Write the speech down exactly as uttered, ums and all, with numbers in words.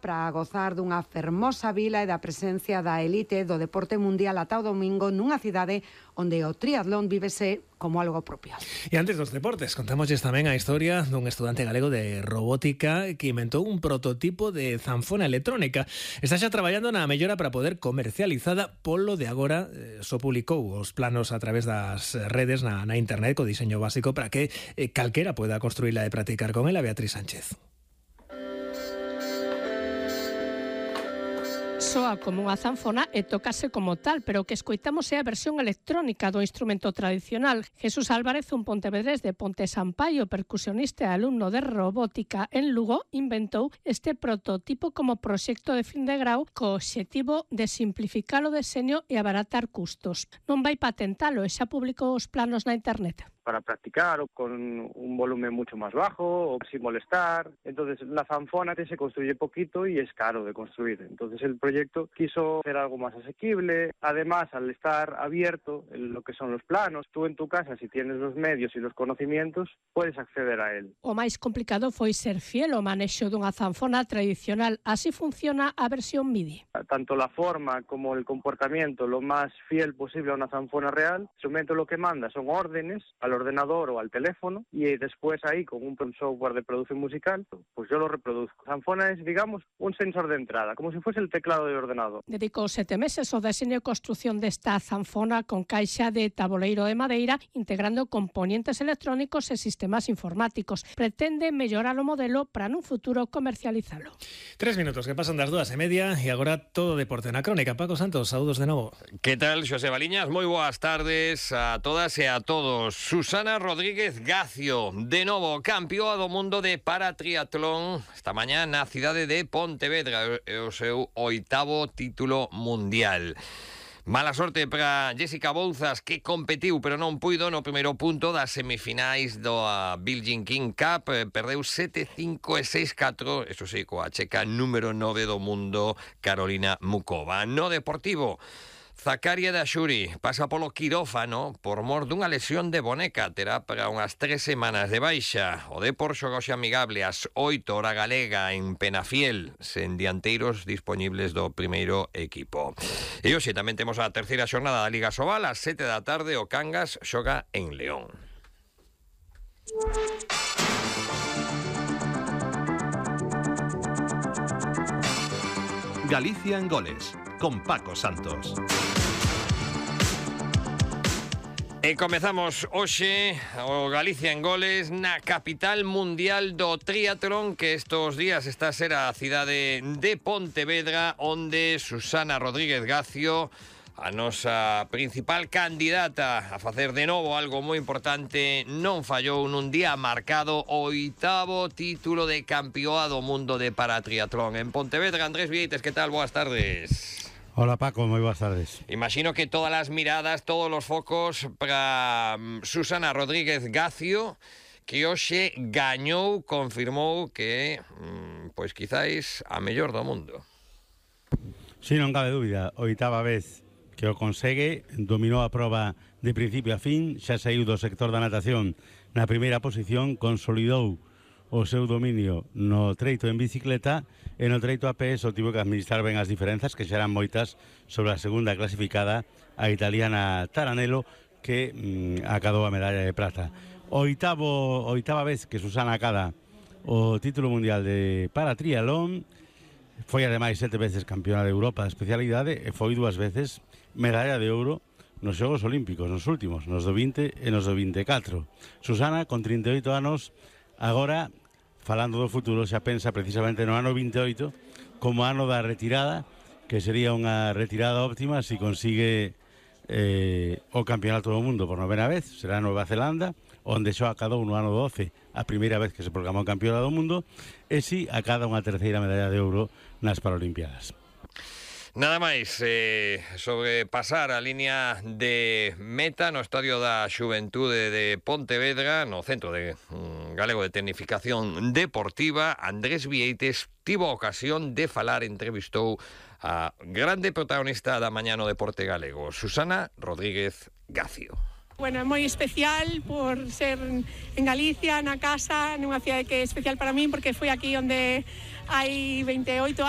para gozar dunha fermosa vila e da presencia da elite do deporte mundial ata o domingo nunha cidade onde o triatlón vívese como algo propio. E antes dos deportes, contámosles tamén a historia dun estudante galego de robótica que inventou un prototipo de zanfona electrónica. Está xa traballando na mellora para poder comercializada. Polo de agora eh, só publicou os planos a través das redes na, na internet co diseño básico para que eh, calquera poida construíla e practicar con ela. Beatriz Sánchez. Soa como unha zanfona e tócase como tal, pero o que escoitamos é a versión electrónica do instrumento tradicional. Jesús Álvarez, un pontevedrés de Ponte Sampaio, percusionista e alumno de robótica en Lugo, inventou este prototipo como proxecto de fin de grau co obxectivo de simplificar o deseño e abaratar custos. Non vai patentalo e xa publicou os planos na internet. Para practicar o con un volumen mucho más bajo o sin molestar. Entonces la zanfona que se construye poquito y es caro de construir. Entonces el proyecto quiso hacer algo más asequible. Además, al estar abierto en lo que son los planos, tú en tu casa, si tienes los medios y los conocimientos, puedes acceder a él. O máis complicado foi ser fiel ao manexo dunha zanfona tradicional. Así funciona a versión MIDI. Tanto la forma como el comportamiento, lo más fiel posible a una zanfona real. El instrumento lo que manda son órdenes a los ordenador o al teléfono y después ahí con un software de producción musical pues yo lo reproduzco. Zanfona es, digamos, un sensor de entrada, como si fuese el teclado de ordenador. Dedicou sete meses ao deseño e construción desta zanfona con caixa de taboleiro de madeira, integrando componentes electrónicos e sistemas informáticos. Pretende mellorar o modelo para nun futuro comercializalo. Tres minutos que pasan das dúas e media e agora todo deporte na crónica. Paco Santos, saúdos de novo. Que tal, Xosé Baliñas? Moi boas tardes a todas e a todos. Susana Rodríguez Gacio, de novo campeoa do mundo de paratriatlón esta mañá na cidade de Pontevedra, é o seu oitavo título mundial. Mala sorte para Jessica Bouzas, que competiu pero non puido no primeiro punto das semifinais do Billie Jean King Cup. Perdeu sete cinco e seis catro, eso sí, coa checa número nove do mundo, Carolina Mukova. No deportivo, Zakaria Daxuri pasa polo quirófano por mor dunha lesión de boneca. Terá para unhas tres semanas de baixa. O Depor xoga hoxe amigable ás oito hora galega en Penafiel, sen dianteiros dispoñibles do primeiro equipo. E hoxe tamén temos a terceira xornada da Liga Sobal. Ás sete da tarde o Cangas xoga en León. Galicia en goles, con Paco Santos. E comezamos hoxe o Galicia en goles na capital mundial do triatlón, que estos días está a ser a cidade de Pontevedra, onde Susana Rodríguez Gacio, a nosa principal candidata a facer de novo algo moi importante, non fallou nun día marcado o oitavo título de campeoa do mundo de paratriatlón. En Pontevedra, Andrés Vieites, que tal? Boas tardes. Hola Paco, moi boas tardes. Imagino que todas as miradas, todos os focos para Susana Rodríguez Gacio, que hoxe gañou, confirmou que pois quizáis a mellor do mundo. Si, non cabe dúbida, oitava vez que o consegue, dominou a proba de principio a fin, xa saiu do sector da natación na primeira posición, consolidou o seu dominio no treito en bicicleta e no treito a pé só tivo que administrar ben as diferenzas, que xa eran moitas, sobre a segunda clasificada, a italiana Taranello, que mm, acadou a medalla de prata. Oitavo, oitava vez que Susana acada o título mundial de paratriatlón, foi ademais sete veces campeona de Europa de especialidade e foi dúas veces medalla de ouro nos Xogos Olímpicos, nos últimos, nos do vinte e nos do vinte e catro. Susana, con trinta e oito anos, agora, falando do futuro, xa pensa precisamente no ano vinte e oito como ano da retirada, que sería unha retirada óptima se consigue eh, o campeonato do mundo por novena vez. Será Nova Zelanda, onde xa acadou no ano doce a primeira vez que se proclamou campeona do mundo, e si acada unha terceira medalla de ouro nas Paralimpiadas. Nada máis, eh, sobre pasar a línea de meta no Estadio da Xuventude de Pontevedra, no Centro de um, Galego de Tecnificación Deportiva, Andrés Vieites tivo a ocasión de falar, entrevistou a grande protagonista da mañá no deporte galego, Susana Rodríguez Gacio. Bueno, é moi especial por ser en Galicia, na casa, nunha cidade que é especial para min, porque foi aquí onde hai veinte e oito anos.